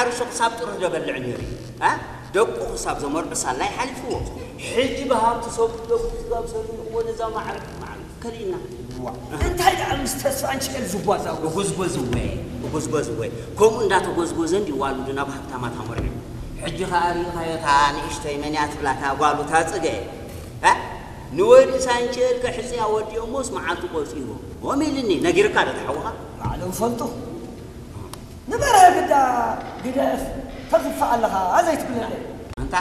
ዓርሱ ክሳብ ጥርህ ደበልዕ ነይሩ እዩ። እ? ደቁ ክሳብ ዘመርዑ ሳላይ ሓሊፍዎ። ሕጂ ብሃብቲ ሰብኡ ደቁ ክጋብሰሉ እሞ ነዛ ማዕረ ማዕረ ከሊእና። ዋ፣ እንታይ ደኣ ምስ ተስፋ ኣንቺኤል ዝጓዛው? እጉዝጎዝ እወ፣ እጉዝጎዝ እወ። ከምኡ እንዳተጎዝጎዘ እንዲ ዋሉ ናብ ሃብታማት ኣመርዑ። ሕጂ ኸኣ ርኢኻዮ እታ ንእሽተይ መን እያ ትብላ እታ ጓሉ እታ ጽገ። እ? ንወዲ ሳንቸል ከሕጽያ ወዲኦሞስ መዓልቱ ቆጺርዎ። ኦም ኢልኒ፣ ነጊርካ ዶ ተሓውኻ? ባዕሎም ፈልጡ። ንበርሀ ግዳ ግደፍ፣ ተኽፍእ ኣለኻ ዘይትብለለይ። ኣንታ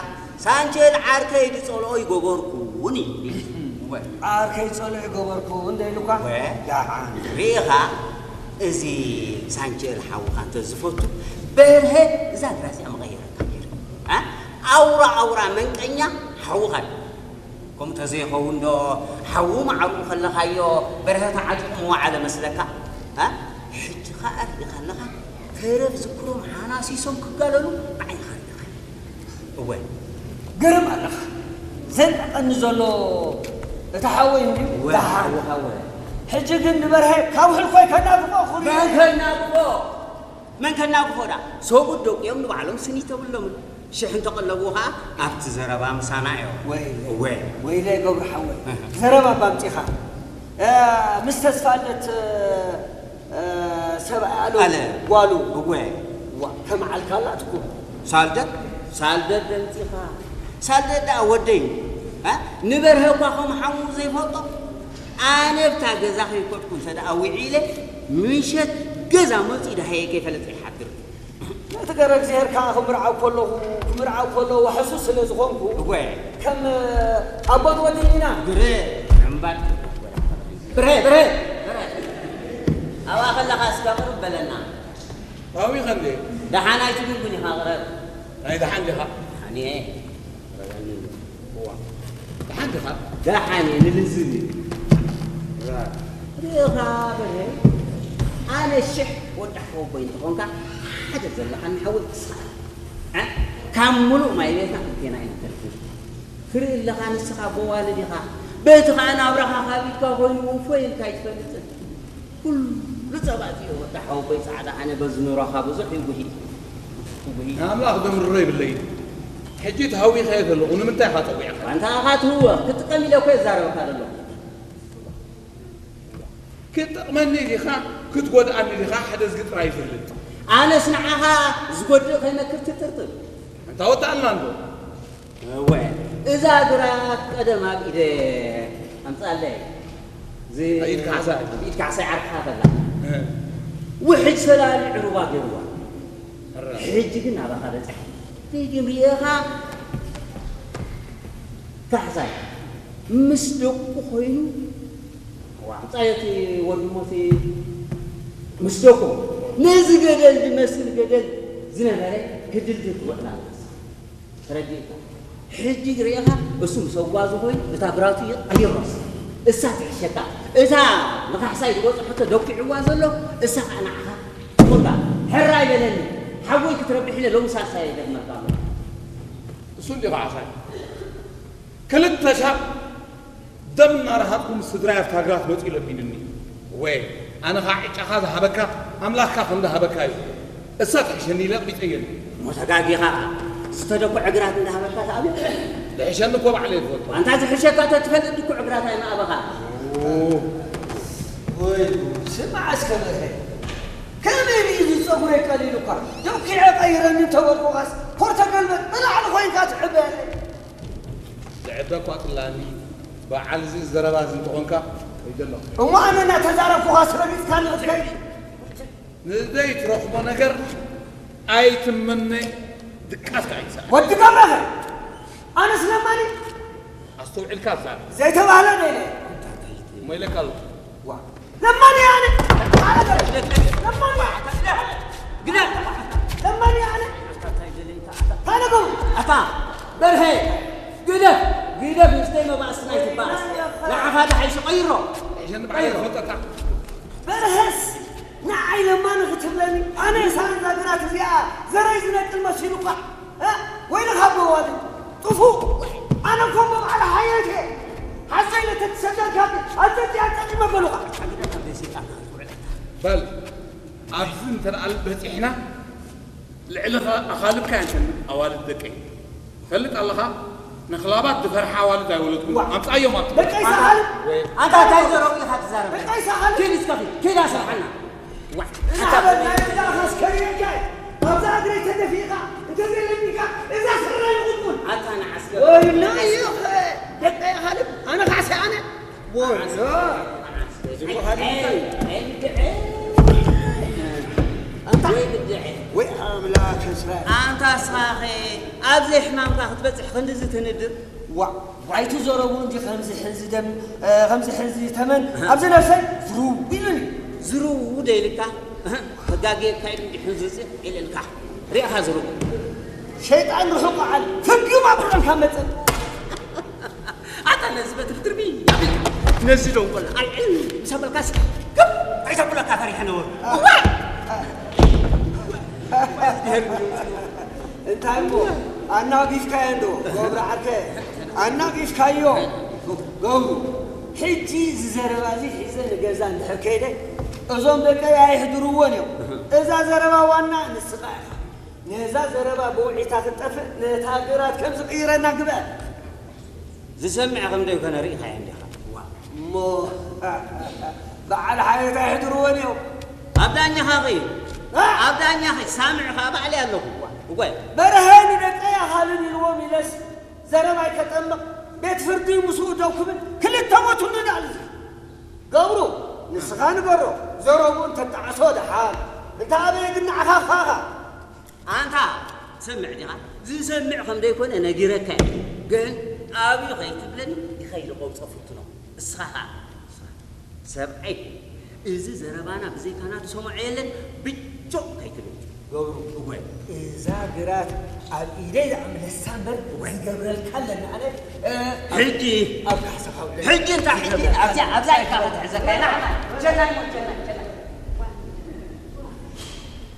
ሳንቸል ዓርከይ ዝጸልኦ ይገበርኩ እውን እዩ። ወ- ዓርከይ ዝጸልኦ ይገበርኩ እንደ ኢሉኳ? ወ- ደሓን። ርኢኻ፣ እዚ ሳንቸል ሓውኻ እንተ ዝፈቱ፣ በርሀ እዛ ግራ እዚኣ መቐየረካ ነይሩ። ኣ? ኣውራ ኣውራ መንቀኛ ሓውኻ እዩ። ከምኡ ተዘይኸውን ዶ ሓዉ ማዕርኡ ከለኻዮ በርሀ ተዓጢቑ ምወዓለ መስለካ? እ? ሕጂ ኸኣ ርኢኻ ኣለኻ፣ ተረፍ ዝክሮም ሓናሲሶም ክጋለሉ ብዓይንኻ ርኢኻ። እወ። ግርም ኣለኻ። ዘንቀቐኒ ዘሎ እቲ ሓወይ እንድዩ እወ፣ ደሓን። ሓውኻ እወ። ሕጂ ግን ንበርሀ ካብ ህልኮይ ከናግፎ ኩሉ መን ከናግፎ? መን ከናግፎ ደኣ? ሰብኡት ደቂኦም ንባዕሎም ስኒ ተብሎምን። ሽሕ እንተቐለቡ ኸኣ ኣብቲ ዘረባ ምሳና እዮም። ወይለይ። እወ። ወይለይ ገብሩ ሓወይ። እህ። ዘረባ እባ ኣምጺኻ። እ፣ ምስ ተስፋለት፣ እ፣ ሰብኣይ ኣለ ኣለ። ጓሉ። እወ። ዋ፣ ከም ዓልካ ኣላትኩም። ሳልደት? ሳልደት ደምጺኻ። ሳልደት ደኣ ወደይ። እ? ንበርሀ እኳ ከም ሓሙ ዘይፈልጦ። ኣነ ብታ ገዛ ከይኮድኩ እንተ ደኣ ውዒለ፣ ምሸት ገዛ መጺኡ ደሃየ ከይፈለጠ ይሓድር። ነቲ ገረ እግዚኣብሔር ከኣ ክምርዓው ከለኹ፣ ክምርዓው ከሎ ዋሕሱ ስለ ዝኾንኩ፣ እወ። ከም ኣቦን ወድን ኢና። ግረ፣ እምበር። ብርሄ፣ ብርሄ፣ ብርሄ። ኣብኣ ከለኻ እስከ ቅርብ በለና። ኣዊኸ እንዴ? ደሓን ኣይትብልኩን ኢኻ፣ ቅረብ። ናይ ደሓን ዲኻ? ደሓን እየ። እዋ። ደሓን ዲኻ? ደሓን እየ፣ ንልዝብ እዩ። ራ። ርኢኻ በርሄ፣ ኣነ ሽሕ ወዲ ሓወቦይ እንተኾንካ፣ ሓደ ዘለኻኒ ሓወይ ንስኻ። እ? ካብ ምሉእ ማይ ቤትና ክልቴና ኢና ተርፍና። ትርኢ ኣለኻ፣ ንስኻ ኣቦ ዋልድ ኢኻ። በቲ ኸኣ ናብራኻ ካብ ኢድካ ኮይኑ እፎይ ኢልካ ኣይትፈልጥን። ኩሉ ጸባ እትዮ ወዲ ሓወቦይ ጻዕዳ፣ ኣነ በዚ ኑሮኻ ብዙሕ ይጉሂ። ይጉሂ። ንኣምላኽ ዘምርሮ የብለይን። ሕጂ ተሃዊኸዮ ዘለኹ ንምንታይ ኢኻ ጸዊዕካ? ኣንታ ኢኻ ትህወኽ፣ ክጥቀም ኢለ እኮ እየ ዝዛረበካ ዘለኹ። ክትጠቕመኒ ዲኻ፣ ክትጎድኣኒ ዲኻ፣ ሓደ እዝጊ ጥራይ ይፈልጥ። ኣነስ ንዓኻ ዝጎድእ ከይመክር ትጥርጥር። ኣንታ ወጣልና እንዶ። እወ፣ እዛ ግራት ቀደም ኣብ ኢደ ኣምጻለይ። ዝ-፣ ኢድ ካሕሳይ። ኢድ ካሕሳይ ዓርክኻ ከላ። እ። ውሕጅ ሰላሊ ዕሩባ ገይርዋ። ሕራ። ሕጂ ግን ናባኻ በጺሓ። ደጊም ርኢኻ ካሕሳይ ምስ ደቁ ኮይኑ፣ ዋ፣ ኣምጻዮ እቲ ወንድሞቲ ምስ ደቁ ነዚ ገደል ዝመስል ገደል ዝነበረ ክድልድል ትውዕል ኣላ። ተረዲእካ? ሕጂ ርኢኻ እሱ ምስ ኣጓዙ ኮይኑ እታ ግራቱ ይቐይሮስ እሳ ትሕሸካ። እታ ንካሕሳይ ዝበጽሖቶ ደኲዕዋ ዘሎ እሳ ኸኣ ንዓኻ ትኹንካ። ሕራይ በለኒ። ሓወይ ክትረብሕ ኢለ ሎሚ ሳልሳይ ይደግመካ ኣለኹ። እሱ እንዲኻ ዓሳይ። ክልተ ሻብ ደም እናረሃጽኩ ምስ ስድራይ ኣብታ ግራት መጺኡ ለሚኑኒ። እወ፣ ኣነ ኸኣ ዕጫኻ ዝሃበካ ኣምላኽካ ከም ዝሃበካ እዩ። እሳ ትሕሸኒ ኢለ ኣቕቢጸየኒ። እሞ ተጋጊኻ፣ ዝተደኩዐ ግራት እንዳሃበካ ተኣምን። ዝሕሸኒ እኮ ባዕለይ ይፈልጦ። ኣንታ ዝሕሸካ ተትፈልጥ ድኩዕ ግራት ኣይምኣበኻ። ኦ። ወይ ጉድ፣ ስማዕ እስከ በርሄ። ከመይ ኢሉ እዚ ጸጉረይ ቀሊሉካ? ደኲዐ ቀይረኒ እንተበልኩኻስ፣ ኮር ተገልበጥ ንላዕሊ ኮይንካ ትዕበየለይ። ዝዕበ እኳ ጽላኒ፣ በዓል እዚ ዘረባ እዚ እንተኾንካ፣ ከይደ ኣለኹ። እሞ ኣነ እናተዛረብኩኻስ ረጊጽካኒ ክትከይድ? ንዘይትረኽቦ ነገር ኣይትመነ፣ ድቃስካ ኣይትስኣን። ወዲ ገብረኸ፣ ኣነስ ለማኒ? ኣስተውዒልካ ዛረብ። ዘይተባህለ ዶ ኢለ? እሞ ኢለካ ኣለኹ። ዋ። ለማኒ ኣነ። ለማኒ። ግደፍ። ለማኒ ኣነ። ታነገሩ። ኣታ በርሄ፣ ግደፍ፣ ግደፍ፣ ንእሽተይ መባእስቲ ናይ ትባእስ። ንዓኻ ዝሓይሽ ቀይሮ። ይሕን በዓል ይፈልጠካ። በርሀስ ንዓይ ለማኒ ክትብለኒ? ኣነ ሳንዛ ግራት እዚኣ ዘረይ ዝነቅል መሲሉካ? እ? ወይልኻ ኣቦ ዋልድ ጥፉእ። ኣነ እኮ እሞ በዓል ሓየት እየ። ሓሰይ ለተትሰደልካ ኣጸጢ ኣጸጢ መበሉኻ። በል፣ ኣብዚ እንተ ደኣ በጺሕና፣ ልዕሊ ኣኻልብካ እየን ኣዋልድ ደቀይ። ትፈልጥ ኣለኻ፣ ንኽላባት ዝፈርሓ ኣዋልድ ኣይወለድኩን። ዋ። ኣምጻዮም ኣብቲ ደቀይ ሰሓል። ኣንታ እንታይ ዘረቡ ኢኻ ትዛረብ? ደቀይ ሰሓል። ኪድ እስከ ኪድ፣ ኪድ ኣስርሓና። ዋ። ንዓበል ናይ እዛ ኣኻስ ከሪረካ እየ። ኣብዛ እግረይ ተደፊእካ እንተዘይለሚንካ እዛ ስረ ይቑጥቁን። ኣታ ንዓስከ። ወይ ናይኸ ደቀይ ኣኻልብ ኣነ ካዕሲ ኣነ። ወይ ዝብሃሊ እንታይ? ኣንታ ወይ ኣምላክ እስራኤል። ኣንታ እስኻኸ ኣብዚ ሕማምካ ክትበፅሕ ክንድዚ ትንድር? ዋ ኣይትዘረቡ እንጂ ከምዚ ሕዚ ደም ከምዚ ሕዚ ተመን ኣብዚ ነፍሰይ ዝርው ኢሉኒ። ዝርው ደይልካ ተጋጌካ ኢሉ እንዲ ሕዚ ውፅእ ኢልልካ ሪእኻ ዝርው። ሸይጣን ርሑቕ ዓል ፍግም ኣብርዖም ካብ መፀ ኣታ ነዚ በትሪ ትርቢ ኣቢልካ ነዚ ደንቆላ ኣልዕል ምስ ኣበልካስ ግብ ኣይተብለካ ፈሪሐ ነበሩ። እዋይ! እንታይ እሞ ኣናጊፍካዮ እንዶ ገብሩ ዓርከ ኣናጊፍካዮ ገብሩ። ሕጂ እዚ ዘረባ እዚ ሒዘ ንገዛ እንድሕር ከይደ እዞም ደቀይ ኣይሕድርዎን እዮም። እዛ ዘረባ ዋና ንስኻ ኢኻ። ነዛ ዘረባ ብውዒታ ክትጠፍእ ነታ ግራት ከም ዝቕይረና ግበር። ዝሰምዕ ከም ዘይኮነ ርኢኻዮ እንዲኻ። እሞ በዓል ሓየት ኣይሕድርዎን እዮም። ኣብ ዳኛኻ ኸይ እ? ኣብ ዳኛኺ ሳምዕ ኸዓ ባዕለይ ኣለኹ። እወ። እወ። በርሀ ንደቀይ ኣኻልብ ኢልዎም ኢለስ ዘረባይ ከጠምቕ ቤት ፍርዲ ምስኡ ደው ክብል ክልተ ሞት ንዳል እዚ ገብሩ ንስኻ ንገሮ ዘረብኡ እንተጣዕሶ ደሓን እንተ ኣበየ ግን ንዓኻ ኻኻ ኣንታ ትሰምዕ ዲኻ? ዝሰምዕ ከም ዘይኮነ ነጊረካ እየ። ግን ኣብዩ ከይትብለኒ ይኸይድ ቆብጾ ፍትኖ። እስኻ ኸኣ ሰብኣይ እዚ ዘረባና ብዘይካና ዝሰምዖ የለን። ብጆ ከይትብል ገብሩ እወ እዛ ግራት ኣብ ኢደይ ዝኣምለሳ እምበር ዝገብረልካ ኣለኒ ኣነ ሕጂ ኣብ ካሕሳኻ ውዕል ሕጂ እንታይ ሕጂ ኣብዚኣ ኣብዛ ኢልካ ክትሕዘካ ኢና ጀናይ ሞት ጀናይ